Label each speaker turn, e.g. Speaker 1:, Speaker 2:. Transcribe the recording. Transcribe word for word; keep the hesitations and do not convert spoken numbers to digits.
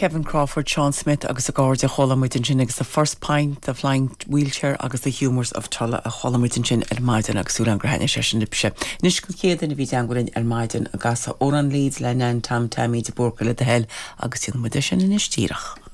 Speaker 1: Kevin Crawford, Sean Smith agus a gcairde chuala muid ansin agus the first pint, the flying wheelchair agus the humours of Tulla a chuala muid ansin ar maidin agus súil gur thaitnigh sé sin libhse. Anois an chéad duine a bhí i dteagmháil linn ar maidin agus Órán Leeds le Nan Tom Taimí de Búrca le do thoil agus déanfaidh muid sin anois díreach.